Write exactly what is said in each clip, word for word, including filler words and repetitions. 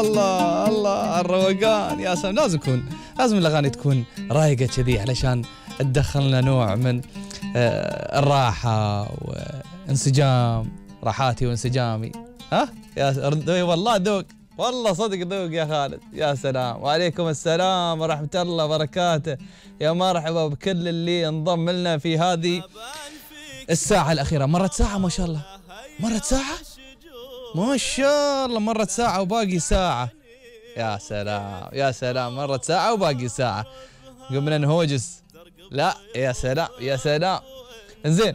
الله الله الروقان يا سلام. لازم يكون لازم الأغاني تكون رايقة كذي علشان تدخلنا نوع من آه الراحة وانسجام، راحاتي وانسجامي. ها يا والله ذوق، والله صدق ذوق يا خالد. يا سلام. وعليكم السلام ورحمة الله وبركاته. يا مرحبا بكل اللي انضم لنا في هذه الساعة الأخيرة. مرت ساعة ما شاء الله، مرت ساعة ما شاء الله، مرت ساعة وباقي ساعة. يا سلام يا سلام، مرت ساعة وباقي ساعة. قمنا نهوجس. لا يا سلام يا سلام. انزين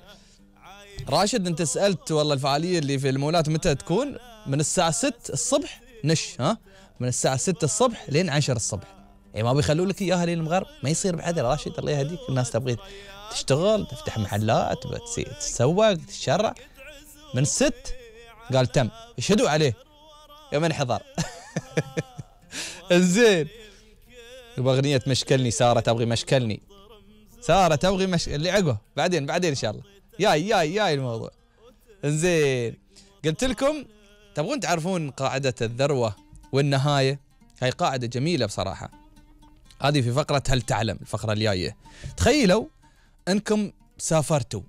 راشد، انت سألت والله الفعالية اللي في المولات متى تكون؟ من الساعة ستة الصبح نش، ها من الساعة ستة الصبح لين عشرة الصبح. يعني ما بيخلوا لك اياها لين المغرب، ما يصير بعد راشد الله يهديك. الناس تبغي تشتغل، تفتح محلات، تتسوق، تتشرع. من الست قال تم، يشهدوا عليه يوم انحضر. انزين يبغى اغنية مشكلني. سارة تبغي مشكلني، سارة تبغي مش اللي عقبه بعدين بعدين ان شاء الله. ياي ياي ياي الموضوع. انزين قلت لكم تبغون تعرفون قاعدة الذروة والنهاية. هاي قاعدة جميلة بصراحة. هذه في فقرة هل تعلم، الفقرة الجاية. تخيلوا انكم سافرتوا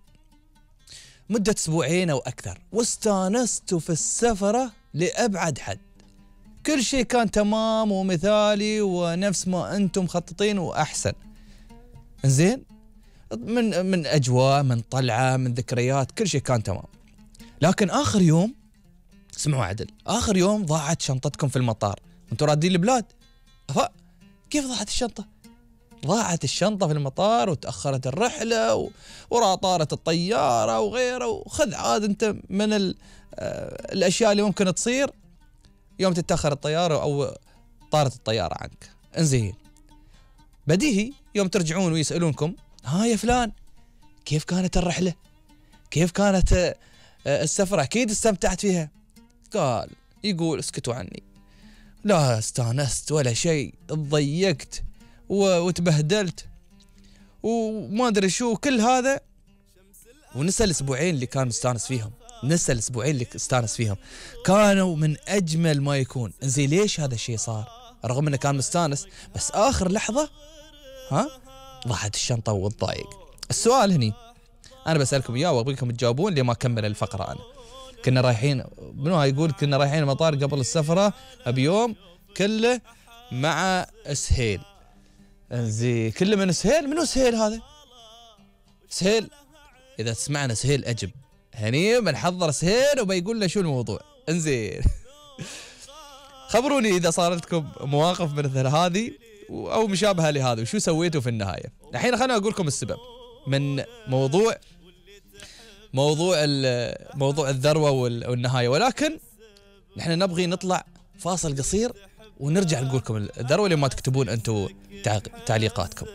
مدة اسبوعين او اكثر واستانستوا في السفرة لأبعد حد. كل شيء كان تمام ومثالي ونفس ما انتم مخططين واحسن. زين من من اجواء، من طلعة، من ذكريات، كل شيء كان تمام. لكن اخر يوم، اسمعوا عدل، اخر يوم ضاعت شنطتكم في المطار وانتم رادين البلاد. أفا كيف ضاعت الشنطة؟ ضاعت الشنطة في المطار وتأخرت الرحلة و... ورا طارت الطيارة وغيره. وخذ عاد انت من ال... آه... الاشياء اللي ممكن تصير يوم تتأخر الطيارة او طارت الطيارة عنك. انزين بديهي يوم ترجعون ويسألونكم ها يا فلان كيف كانت الرحلة؟ كيف كانت آه... السفرة؟ اكيد استمتعت فيها. قال يقول اسكتوا عني، لا استانست ولا شيء، تضيقت وتبهدلت وما ادري شو كل هذا. ونسى الاسبوعين اللي كان مستانس فيهم، نسى الاسبوعين اللي استانس فيهم كانوا من اجمل ما يكون. انزين ليش هذا الشيء صار؟ رغم انه كان مستانس بس اخر لحظة ها ضاعت الشنطة والضايق. السؤال هني انا بسألكم اياه وابغيكم تجاوبون لما اكمل الفقرة. انا كنا رايحين، منو هاي يقول كنا رايحين المطار قبل السفرة بيوم كله مع سهيل. انزين كله من سهيل. منو سهيل هذا؟ سهيل اذا تسمعنا سهيل اجب، هني بنحضر سهيل وبيقول له شو الموضوع. انزين خبروني اذا صارت لكم مواقف مثل هذه او مشابهة لهذا وشو سويتوا في النهاية. الحين خليني اقول لكم السبب من موضوع موضوع موضوع الذروة والنهاية، ولكن نحن نبغي نطلع فاصل قصير ونرجع نقول لكم الذروة لما تكتبون انتم تعليقاتكم.